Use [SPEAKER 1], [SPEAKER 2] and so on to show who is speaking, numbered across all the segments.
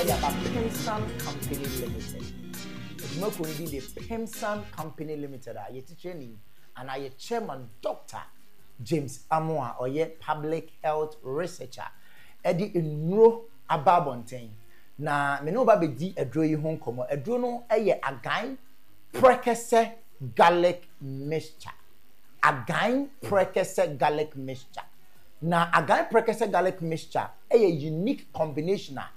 [SPEAKER 1] De aba Pimsan Company Limited. Adwumakuo no din de Pimsan Company Limited a yɛ titrani anaa yɛ chairman Doctor James Amoah a ɔyɛ public health researcher de nnuro aba abɔnten. Na me ne wo ba bɛdi aduro yi ho nkɔmmɔ. Aduro no yɛ Agan Prɛkɛsɛ Garlic Mixture. Agan Prɛkɛsɛ Garlic Mixture. Na Agan Prɛkɛsɛ Garlic Mixture yɛ unique combination a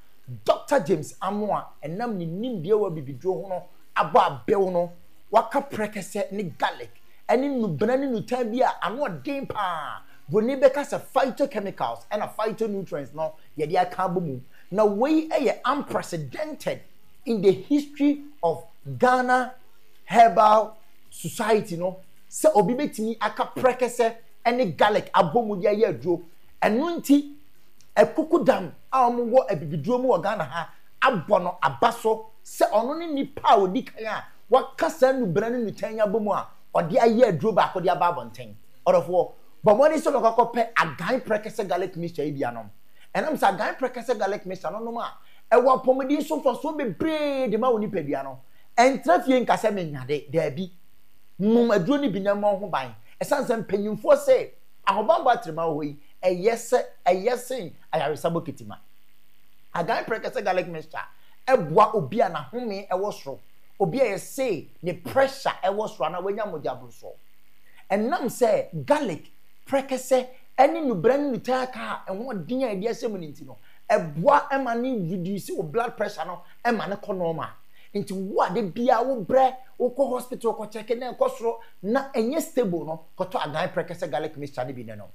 [SPEAKER 1] Dɔkta James Amoah ɛnam ne nimdeɛ wɔ abibiduro ho no abɔ abew no, waka prɛkɛsɛ ne garlic ne nnubena ne nnutan bi a ano ɔden paa, broni bɛka sɛ phytochemicals ɛna phytonutrients no yɛde aka abɔ mu. Na wei yɛ unprecedented in the history of Ghana herbal society no sɛ obi bɛtumi aka prɛkɛsɛ ne garlic abɔ mu de ayɛ aduro. Ɛno nti Akukudam a wɔwɔ abibiduro mu wɔ Ghana ha abɔ no aba so sɛ ɔno ne nipa a ɔdi kan a waka saa nnubena ne nnutan yi abɔ mu a ɔde ayɛ aduro baako de aba abɔnten. Ɔdɔfoɔ, bɔ mmɔden sɛ wobɛkɔ akɔpɛ Agan Prɛkɛsɛ Garlic Mixture yi bi anom. Ɛnam sɛ Agan Prɛkɛsɛ Garlic Mixture no nom a, ɛwɔ apɔmuden so mfasoɔ bebree de ma wo nipadua no. Ɛntra fie nka sɛ menyade, daabi. Nom aduro no bi na mmɔ wo ho ban. Ɛsiane sɛ mpanyimfoɔ se ahobammɔ atrema wɔ hɔ yi, ɛyɛ sɛ ɛyɛ sen ayaresa bokiti ma. Agan prɛkɛsɛ garlic mixture boa obi a n'ahome wɔ soro, obi a yɛse ne pressure wɔ soro anaa wanya mogya borosoɔ. Ɛnam sɛ garlic, prɛkɛsɛ ne nnubra ne nnutan aka a ɛho ɔden a yɛde ahyɛ mu no nti no, ɛboa ma ne reduce wo blood pressure no ma no kɔ normal. Nti wo a da biara wobrɛ, wokɔ hospital kɔ check na ɛkɔ soro na ɛnyɛ stable no, kɔtɔ agan prɛkɛsɛ garlic mixture no bi na nom.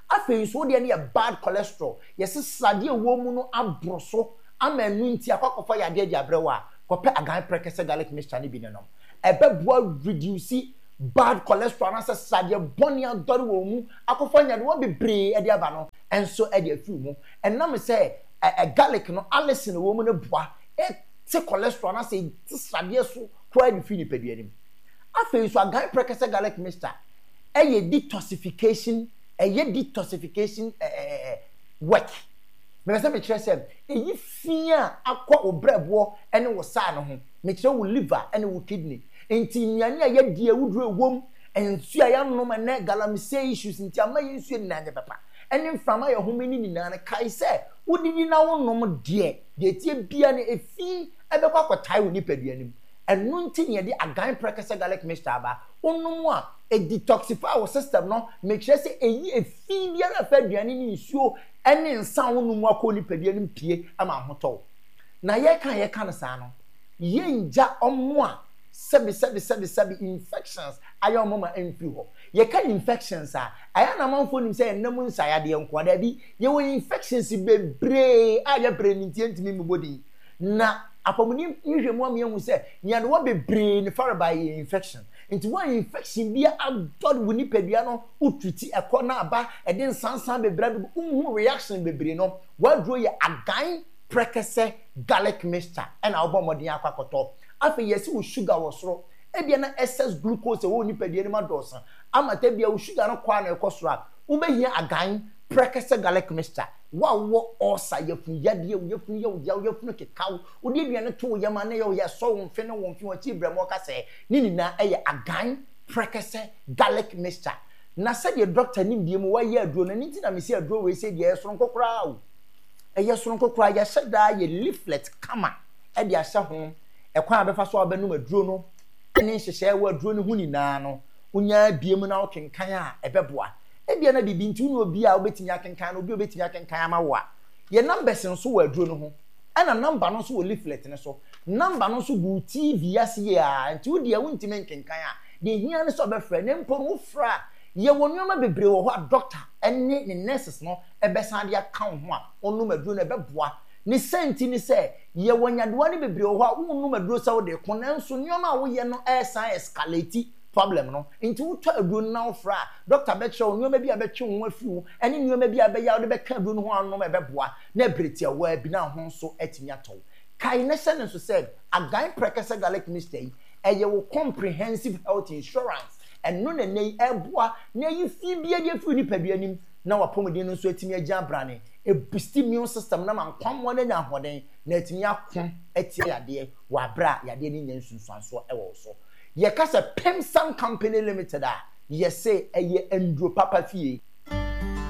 [SPEAKER 1] Afei nso wo deɛ no yɛ bad cholesterol, yɛse sradeɛ a ɛwɔ mu no aboro so ama ɛno nti akɔ akɔfa yadeɛ de abrɛ wo a, kɔpɛ agan prɛkɛsɛ garlic mixture no bi na nom. Ɛbɛboa reduce bad cholesterol anaasɛ sradeɛ bɔne adɔre wɔ wo mu akɔfa nyadewa bebree de aba no nso de afiri wo mu. Ɛnam sɛ ɛ garlic no allicin a ɛwɔ mu no boa te cholesterol anaasɛ ɛte sradeɛ so koraa de firi nipadua no mu. Afei nso agan prɛkɛsɛ garlic mixture ɛyɛ detoxification ɛyɛ detoxification ɛɛ work. Mepɛ sɛ mekyerɛ sɛ ɛyi fi a akɔ wo brɛboɔ ne wo saa no ho. Mekyerɛ wo liver ne wo kidney. Nti nnuane a yɛdi awuduro ɛwom, nsuo a yɛanom ɛnɛ galamsey issues nti ama yɛn nsuo nyinaa nyɛ papa, ɛne mframa a yɛhome no nyinaa no, kae sɛ wodidi na wonom deɛ, deɛ ɛteɛ biara no efi ɛbɛkɔ akɔtae wo nipadua no mu. Ɛno nti na yɛde agan prɛkɛsɛ garlic mixture aba. Wonom a, ɛdetoxify wo system no, mekyerɛ sɛ ɛyi efi biara a ɛfa aduane ne nsuo ne nsa a wonom mu akɔ wo nipadua no mu pue ma ahotɔ wo. Na yɛka a yɛka no saa no, yɛngya wɔn a sɛbi sɛbi sɛbi sɛbi infections ayɛ wɔn ma ɛmfiri hɔ. Yɛka infections a, ɛyɛ a na amanfoɔ nim sɛ ɛnna mu nsaeadeɛ nko ara. Daabi, yɛwɔ infections bebree a yɛbrɛ no nti yɛntumi mmobɔ din. Na apɔmuden nhwehwɛmu ama yɛahu sɛ nyarewa bebree ne farebae yɛ infection. Nti wo a infection bi adɔ wo nipadua no, wo treat ɛkɔ na aba, ɛde nsansan bebree abɛgu, wonhu reaction bebree no, w'aduro yɛ agan prɛkɛsɛ garlic mixture ɛna wobɔ mmɔden akɔ akɔtɔ. Afei yɛse wo sugar wɔ soro, ebia na excess glucose a ɛwɔ wo nipadua no mu adɔɔso ama ta bia wo sugar no kɔ a na ɛkɔ soro a, wobɛhia agan prɛkɛsɛ garlic mixture. Wo a wowɔ ulcer, yafunu yadeɛ, wo yafunu yɛ wo ya, wo yafunu keka wo, wode aduane to wo yam a na ɛyɛ wo ya, ɛsɔ wo mfe ne wo mfe, w'akyi brɛ mu ɔka sɛ, ne nyinaa ɛyɛ agan prɛkɛsɛ garlic mixture. Na sɛdeɛ dɔkta nimdeɛ mu wayɛ aduro no, ɛno nti na mese aduro wei sei deɛ ɛyɛ soronko koraa o. Ɛyɛ soronko koraa, yɛahyɛ daa yɛ leaflet kama de ahyɛ ho, ɛkwan a bɛfa so a wobɛnom aduro no ne nhyehyɛɛ ɛwɔ aduro no ho nyinaa no, wonya bie mu na wokenkan a ɛbɛboa. Ebia na biribi nti wone obi a wobɛtumi akenkan no, obi a obɛtumi akenkan ama wo a, yɛ numbers nso wɔ aduro no ho, ɛna number no nso wɔ leaflet no so. Number no nso gu wo TV ase yie ara, nti wo deɛ wontumi nkenkan a, deɛ ɛhia ne sɛ wobɛfrɛ, na mpo no wofrɛ a, yɛwɔ nneɛma bebree wɔ hɔ a doctor ne ne nurses no bɛsan de aka wo ho a wonom aduro no ɛbɛboa. Ne sɛ nti ne sɛ, yɛwɔ nyadewa no bebree wɔ hɔ a wonnom aduro sɛ wode reko, nanso nneɛma a woyɛ no resan escalate problem no. Nti wotɔ aduro no na wofrɛ a, doctor bɛkyerɛ wo nneɛma bi a ɛbɛtwe wo ho afiri ho ne nneɛma bi a ɛbɛyɛ a wode bɛka aduro no ho a wonom a ɛbɛboa na ɛberɛ tiawaa bi na wo ho nso atumi atɔ wo. Kae na hyɛ no nso sɛ, Agan Prɛkɛsɛ Garlic Mixture yi, ɛyɛ wo comprehensive health insurance. Ɛno na ɛnnɛ yi ɛreboa na ayi fi biara de afiri wo nipadua no mu na w'apɔmuden no nso atumi agyina brane. Ɛbusti immune system no ma nkwammoa no anya ahoɔden na atumi ako atia yadeɛ wɔ aberɛ a yadeɛ no nnya nsunsuansoɔ wɔ wo so. Yɛka sɛ Pemsan Company Limited a, yɛse ɛyɛ nnuro papa fie.